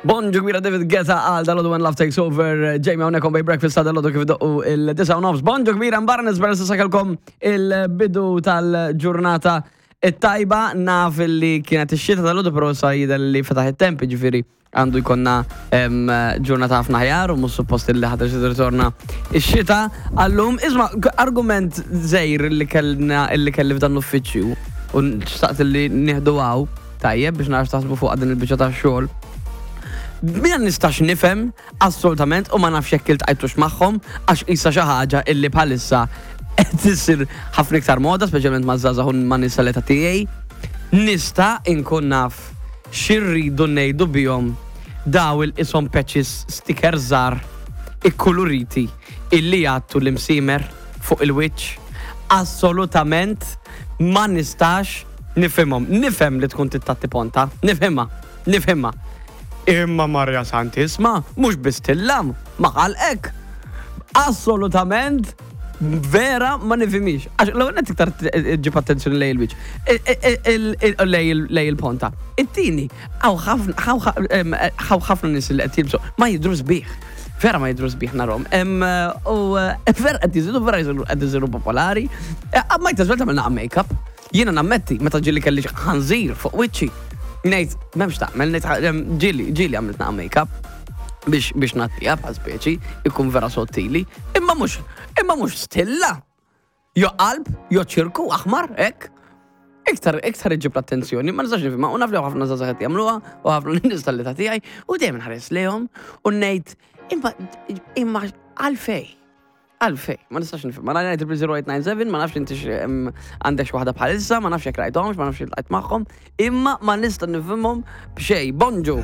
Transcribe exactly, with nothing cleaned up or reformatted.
Bonġu kbira, David Guetta għal dalgħodu When Love Takes Over. Jamie hawnhekk on Breakfast ta' dalgħodu kif doqqu il-disgħa u nofs. Bonġu kbira, mbarra nispera s'issa kellkom il-bidu tal-ġurnata it-tajba. Naf li kienet ix-xita dalgħodu, però sa jidher li fetaħ it-temp, ġifieri għandu jkollna em, ġurnata ħafna aħjar u mhux suppost li ħa tirritorna ix-xita għallum. Isma', argument żgħir li kellna li kelli f'dan l-uffiċċju u xtaqt li nieħdu għaw tajjeb biex nara x'taħsbu fuq din il-biċċa tax-xogħol. Mina nistax nifhem assolutament u ma nafx jekk iltqajtux magħhom, għax issa xi ħaġa illi bħalissa qed issir ħafna iktar moda, speċjalment ma' żgħażagħ u ma' nisa l-età tiegħi. Nista' inkun naf x'irridu ngħidu bihom daw il-qishom patches, sticker żgħar ikkuluriti illi jgħattu l-imsiemer fuq il-wiċċ? Assolutament ma nistax nifhimhom. Nifhem li tkun trid tgħatti ponta, nifhimha, nifhimha. Imma Marja Santisma, mhux biss tillam, ma ħalqek. Assolutament vera ma nifhimix. Għax l-ewwel iktar ġib attenzjoni lejn il-wiċċ. Lejn il-ponta. It-tieni, hawn ħafna nies li qed jilbsu ma jidru sbieħ. Vera ma jidru sbieħ narahom. U vera qed jiżidu, vera qed jisiru popolari. Ma jtażwel tagħmel naqa make-up. Jiena nammetti, meta ġieli kelli ħanżir fuq wiċċi. Ngħid, m'hemmx tagħmel, ngħid ġieli, ġieli għamilt naqa make-up biex biex ngħattiha bħal speċi, ikun vera sottili, imma mhux, imma mhux stilla. Jo qalb, jo ċirku aħmar, hekk. Iktar, iktar iġib l-attenzjoni, ma nistax nifhimha, u naf li ħafna żgħażagħ qed jagħmluha, u ħafna nies tal-età tiegħi, u dejjem nħares lejhom u ngħid, imma imma għalfejn? Għalfejn, ma nistax nifhem. Ma naf zero eight nine seven, ma nafx inti għandek xi waħda bħalissa, ma nafx jekk rajthomx, ma nafx iltqajt magħhom, imma ma nista' nifhimhom b'xejn. Bonġu.